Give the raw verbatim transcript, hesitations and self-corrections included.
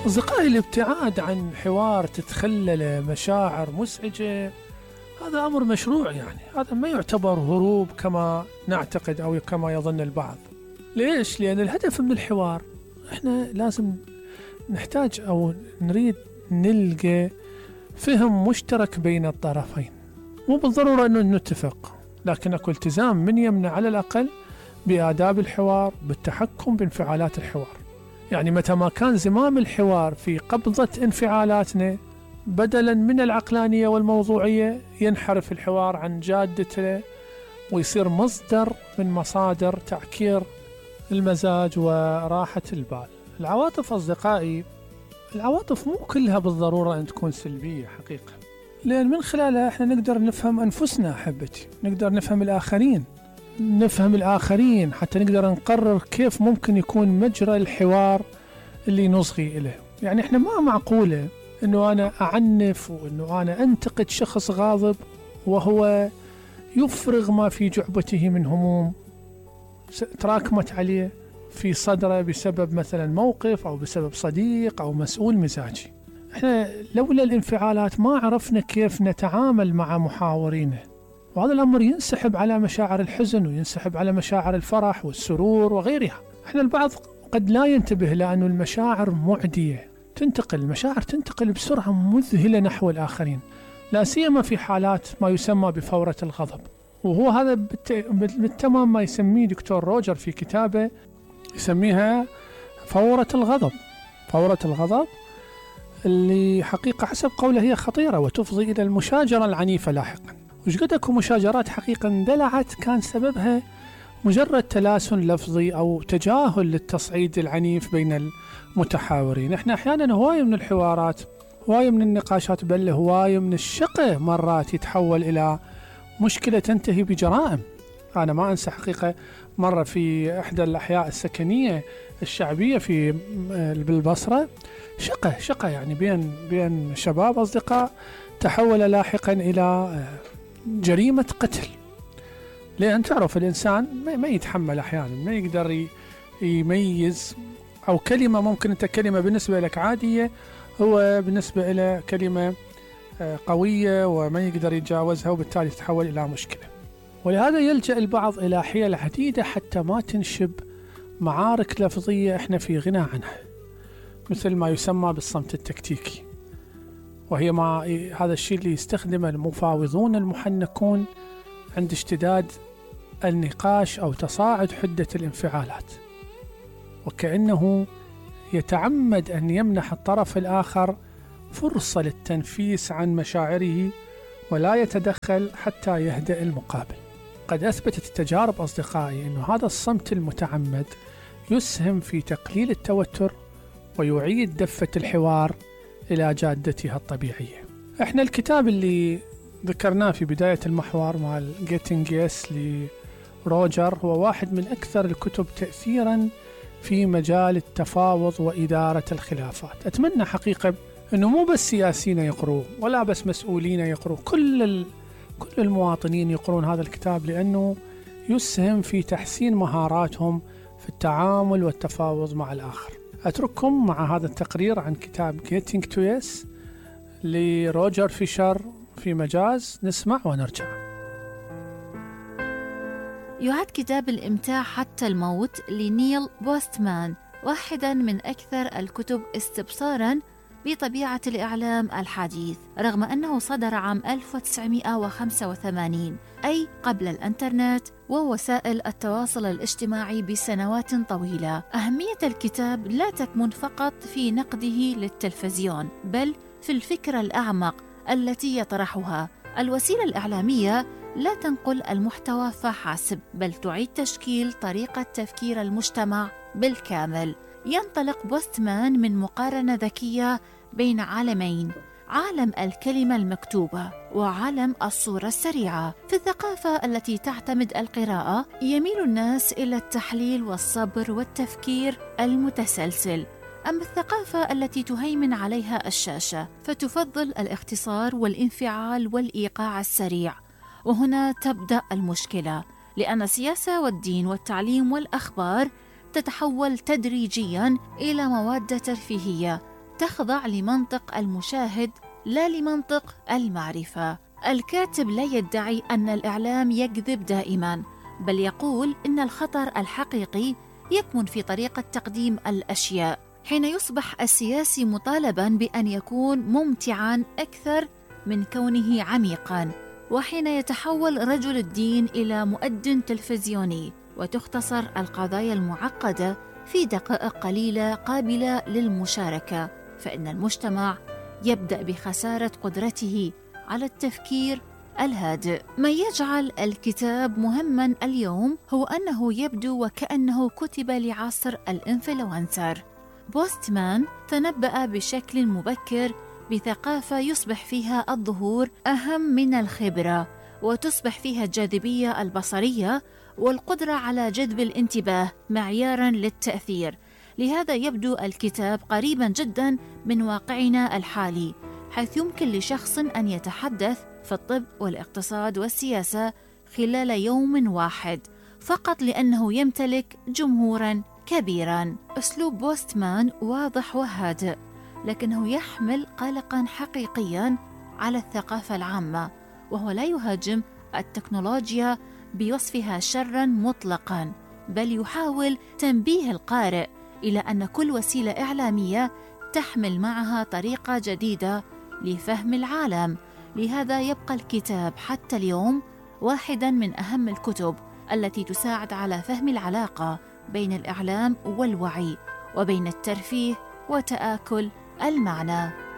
أصدقائي، الابتعاد عن حوار تتخلل مشاعر مزعجة هذا أمر مشروع، يعني هذا ما يعتبر هروب كما نعتقد أو كما يظن البعض. ليش؟ لأن الهدف من الحوار إحنا لازم نحتاج أو نريد نلقى فهم مشترك بين الطرفين، مو بالضرورة أنه نتفق، لكن أكو التزام من يمنا على الأقل بآداب الحوار، بالتحكم بانفعالات الحوار. يعني متى ما كان زمام الحوار في قبضة انفعالاتنا بدلا من العقلانية والموضوعية، ينحرف الحوار عن جادته ويصير مصدر من مصادر تعكير المزاج وراحة البال. العواطف أصدقائي، العواطف مو كلها بالضرورة أن تكون سلبية حقيقة، لأن من خلالها احنا نقدر نفهم أنفسنا أحبتي، نقدر نفهم الآخرين نفهم الآخرين حتى نقدر نقرر كيف ممكن يكون مجرى الحوار اللي نصغي إليه. يعني احنا ما معقولة انه انا اعنف وانه انا انتقد شخص غاضب وهو يفرغ ما في جعبته من هموم تراكمت عليه في صدره بسبب مثلا موقف او بسبب صديق او مسؤول مزاجي. احنا لولا الانفعالات ما عرفنا كيف نتعامل مع محاورينه، وهذا الامر ينسحب على مشاعر الحزن وينسحب على مشاعر الفرح والسرور وغيرها. احنا البعض قد لا ينتبه لأنه المشاعر معدية، تنتقل المشاعر تنتقل بسرعة مذهلة نحو الآخرين، لا سيما في حالات ما يسمى بفورة الغضب. وهو هذا بالتمام ما يسميه دكتور روجر في كتابه، يسميها فورة الغضب. فورة الغضب اللي حقيقة حسب قوله هي خطيرة وتفضي إلى المشاجرة العنيفة لاحقا. وش قد أكو مشاجرات حقيقة اندلعت كان سببها مجرد تلاسن لفظي أو تجاهل للتصعيد العنيف بين المتحاورين. احنا أحيانا هواية من الحوارات، هواية من النقاشات، بل هواية من الشقة مرات يتحول إلى مشكلة تنتهي بجرائم. أنا ما أنسى حقيقة مرة في إحدى الأحياء السكنية الشعبية في بالبصرة، شقة شقة يعني بين بين شباب أصدقاء، تحول لاحقا إلى جريمة قتل. لأن تعرف الإنسان ما يتحمل أحيانا، ما يقدر يميز، أو كلمة ممكن أنت كلمة بالنسبة لك عادية هو بالنسبة إلى كلمة قوية وما يقدر يتجاوزها، وبالتالي تتحول إلى مشكلة. ولهذا يلجأ البعض إلى حيل عديدة حتى ما تنشب معارك لفظية إحنا في غنى عنها، مثل ما يسمى بالصمت التكتيكي، وهي ما هذا الشيء اللي يستخدمه المفاوضون المحنكون عند اشتداد النقاش أو تصاعد حدة الانفعالات، وكأنه يتعمد أن يمنح الطرف الآخر فرصة للتنفيس عن مشاعره ولا يتدخل حتى يهدأ المقابل. قد أثبتت التجارب أصدقائي أن هذا الصمت المتعمد يسهم في تقليل التوتر ويعيد دفة الحوار إلى جادتها الطبيعية. احنا الكتاب اللي ذكرناه في بداية المحور مع Getting Yes لروجر هو واحد من أكثر الكتب تأثيرا في مجال التفاوض وإدارة الخلافات. أتمنى حقيقة أنه مو بس سياسيين يقروه ولا بس مسؤولين يقروه، كل ال... كل المواطنين يقرون هذا الكتاب، لأنه يسهم في تحسين مهاراتهم في التعامل والتفاوض مع الآخر. أترككم مع هذا التقرير عن كتاب Getting to Yes لروجر فيشر في مجاز، نسمع ونرجع. يعد كتاب الإمتاع حتى الموت لنيل بوستمان واحداً من أكثر الكتب استبصاراً بطبيعة الإعلام الحديث، رغم أنه صدر عام ألف وتسعمائة وخمسة وثمانين، أي قبل الإنترنت ووسائل التواصل الاجتماعي بسنوات طويلة. أهمية الكتاب لا تكمن فقط في نقده للتلفزيون، بل في الفكرة الأعمق التي يطرحها. الوسيلة الإعلامية لا تنقل المحتوى فحسب، بل تعيد تشكيل طريقة تفكير المجتمع بالكامل. ينطلق بوستمان من مقارنة ذكية بين عالمين، عالم الكلمة المكتوبة وعالم الصورة السريعة. في الثقافة التي تعتمد القراءة يميل الناس إلى التحليل والصبر والتفكير المتسلسل، أما الثقافة التي تهيمن عليها الشاشة فتفضل الاختصار والانفعال والإيقاع السريع. وهنا تبدأ المشكلة، لأن السياسة والدين والتعليم والأخبار تتحول تدريجياً إلى مواد ترفيهية تخضع لمنطق المشاهد لا لمنطق المعرفة. الكاتب لا يدعي أن الإعلام يكذب دائماً، بل يقول إن الخطر الحقيقي يكمن في طريقة تقديم الأشياء، حين يصبح السياسي مطالباً بأن يكون ممتعاً أكثر من كونه عميقاً، وحين يتحول رجل الدين إلى مؤذن تلفزيوني، وتختصر القضايا المعقدة في دقائق قليلة قابلة للمشاركة، فإن المجتمع يبدأ بخسارة قدرته على التفكير الهادئ. ما يجعل الكتاب مهماً اليوم هو أنه يبدو وكأنه كتب لعصر الإنفلونسر. بوستمان تنبأ بشكل مبكر بثقافة يصبح فيها الظهور أهم من الخبرة، وتصبح فيها الجاذبية البصرية والقدرة على جذب الانتباه معياراً للتأثير. لهذا يبدو الكتاب قريباً جداً من واقعنا الحالي، حيث يمكن لشخص أن يتحدث في الطب والاقتصاد والسياسة خلال يوم واحد فقط لأنه يمتلك جمهوراً كبيراً. أسلوب بوستمان واضح وهادئ، لكنه يحمل قلقاً حقيقياً على الثقافة العامة، وهو لا يهاجم التكنولوجيا بوصفها شراً مطلقاً، بل يحاول تنبيه القارئ إلى أن كل وسيلة إعلامية تحمل معها طريقة جديدة لفهم العالم. لهذا يبقى الكتاب حتى اليوم واحداً من أهم الكتب التي تساعد على فهم العلاقة بين الإعلام والوعي، وبين الترفيه وتآكل المعنى.